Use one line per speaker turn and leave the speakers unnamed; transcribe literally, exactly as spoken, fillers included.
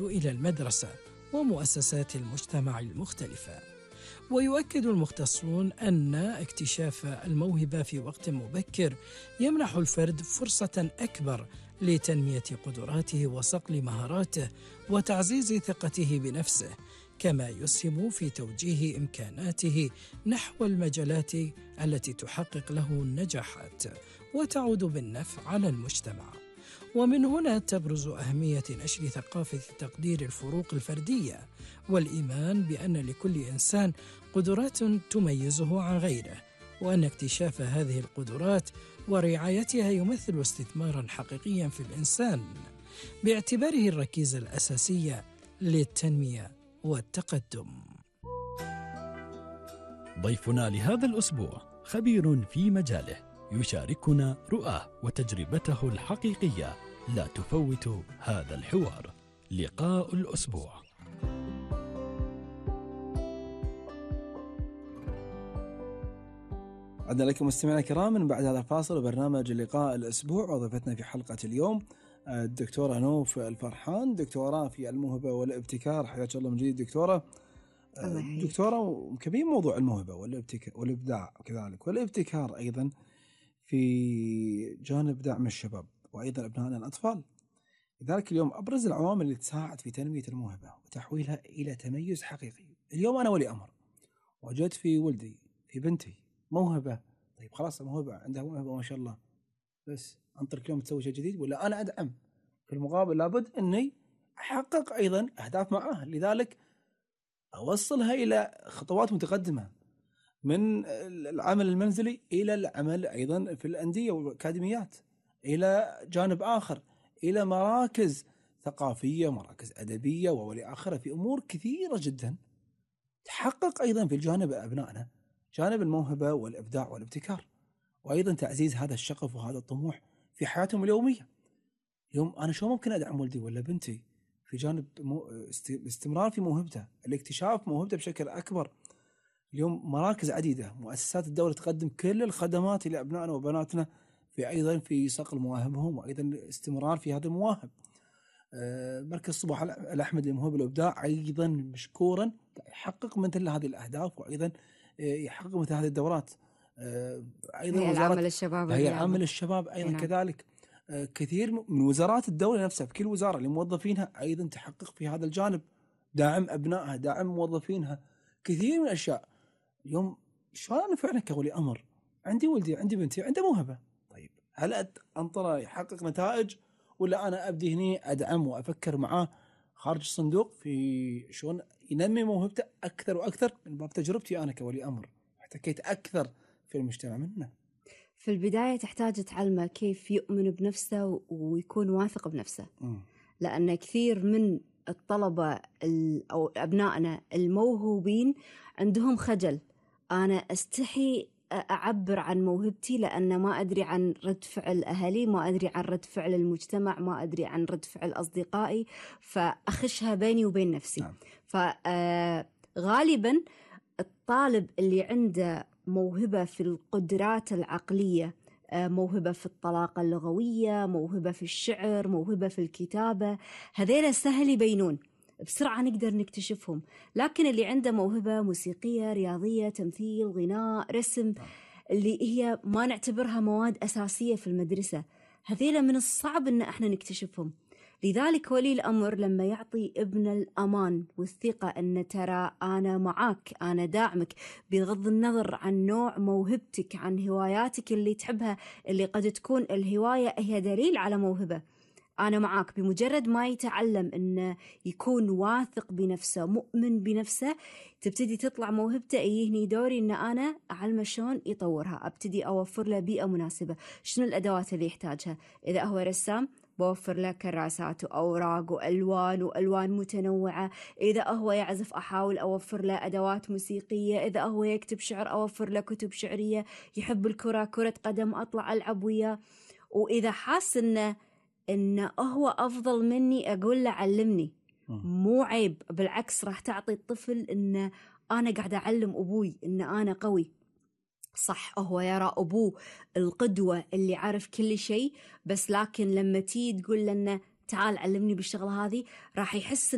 إلى المدرسة ومؤسسات المجتمع المختلفة. ويؤكد المختصون أن اكتشاف الموهبة في وقت مبكر يمنح الفرد فرصة أكبر لتنمية قدراته وصقل مهاراته وتعزيز ثقته بنفسه، كما يسهم في توجيه إمكاناته نحو المجالات التي تحقق له النجاحات وتعود بالنفع على المجتمع. ومن هنا تبرز أهمية نشر ثقافة تقدير الفروق الفردية والإيمان بأن لكل إنسان قدرات تميزه عن غيره، وأن اكتشاف هذه القدرات ورعايتها يمثل استثماراً حقيقياً في الإنسان باعتباره الركيزة الأساسية للتنمية والتقدم.
ضيفنا لهذا الأسبوع خبير في مجاله يشاركنا رؤاه وتجربته الحقيقية. لا تفوتوا هذا الحوار. لقاء الأسبوع.
عدنا لكم مستمعينا الكرام من بعد هذا الفاصل وبرنامج لقاء الأسبوع. وضيفتنا في حلقة اليوم الدكتورة نوف الفرحان، دكتوراه في الموهبة والابتكار. حياك الله من جديد دكتورة. دكتورة، كبير موضوع الموهبة والإبداع وكذلك والابتكار أيضا في جانب دعم الشباب وأيضا أبنائنا الأطفال. لذلك اليوم أبرز العوامل اللي تساعد في تنمية الموهبة وتحويلها إلى تميز حقيقي. اليوم أنا ولي أمر وجدت في ولدي في بنتي موهبة، طيب خلاص الموهبة عندها موهبة ما شاء الله، بس أنطر كل يوم تسوي شيء جديد ولا أنا أدعم؟ في المقابل لابد أني أحقق أيضا أهداف معاه، لذلك أوصلها إلى خطوات متقدمة من العمل المنزلي إلى العمل أيضا في الأندية والأكاديميات، إلى جانب آخر إلى مراكز ثقافية، مراكز أدبية وولي آخرة، في أمور كثيرة جدا تحقق أيضا في الجانب أبنائنا جانب الموهبة والإبداع والابتكار، وأيضا تعزيز هذا الشغف وهذا الطموح في حياتهم اليومية. اليوم أنا شو ممكن أدعم ولدي ولا بنتي في جانب استمرار في موهبته، الاكتشاف موهبته بشكل أكبر. اليوم مراكز عديدة، مؤسسات الدولة تقدم كل الخدمات لأبنائنا وبناتنا في أيضا في صقل مواهبهم وأيضا الاستمرار في هذا المواهب. مركز صباح الأحمد للموهبة والإبداع أيضا مشكورا يحقق مثل هذه الأهداف وأيضا يحقق مثل هذه الدورات.
أيضا هي العمل الشباب
هي عمل الشباب أيضا نعم. كذلك كثير من وزارات الدولة نفسها في كل وزارة لموظفينها أيضا تحقق في هذا الجانب، دعم أبنائها، دعم موظفينها، كثير من الأشياء. اليوم شو أنا فعلا كولي أمر عندي ولدي عندي بنتي عنده موهبة، طيب هل أنطره يحقق نتائج ولا أنا أبدي هني أدعم وأفكر معاه خارج الصندوق في شلون ينمي موهبته أكثر وأكثر من باب تجربتي أنا كولي أمر احتكيت أكثر في المجتمع منه.
في البداية تحتاج تعلمه كيف يؤمن بنفسه ويكون واثق بنفسه م. لأن كثير من الطلبة أو أبنائنا الموهوبين عندهم خجل، أنا أستحي أعبر عن موهبتي لأن ما أدري عن رد فعل أهلي، ما أدري عن رد فعل المجتمع، ما أدري عن رد فعل أصدقائي، فأخشها بيني وبين نفسي. نعم. فغالبا الطالب اللي عنده موهبة في القدرات العقلية، موهبة في الطلاقة اللغوية، موهبة في الشعر، موهبة في الكتابة، هذيلا سهل يبينون بسرعة نقدر نكتشفهم. لكن اللي عنده موهبة موسيقية، رياضية، تمثيل، غناء، رسم، اللي هي ما نعتبرها مواد أساسية في المدرسة، هذيلا من الصعب إن احنا نكتشفهم. لذلك ولي الأمر لما يعطي ابن الأمان والثقة أن ترى أنا معاك، أنا داعمك، بغض النظر عن نوع موهبتك، عن هواياتك اللي تحبها، اللي قد تكون الهواية هي دليل على موهبة، أنا معاك. بمجرد ما يتعلم أنه يكون واثق بنفسه، مؤمن بنفسه، تبتدي تطلع موهبته. يهني دوري أن أنا أعلمه شلون يطورها، أبتدي أوفر له بيئة مناسبة. شنو الأدوات اللي يحتاجها؟ إذا هو رسام بوفر له كراسات وأوراق وألوان وألوان متنوعة. إذا هو يعزف أحاول أوفر له أدوات موسيقية. إذا هو يكتب شعر أوفر له كتب شعرية. يحب الكرة، كرة قدم، أطلع ألعب وياه. وإذا حاس إنه إنه هو أفضل مني أقول له علمني، مو عيب، بالعكس راح تعطي الطفل إنه أنا قاعدة أعلم أبوي إن أنا قوي. صح هو يرى أبوه القدوة اللي عارف كل شيء، بس لكن لما تيجي تقول له إنه تعال علمني بالشغلة هذه، راح يحس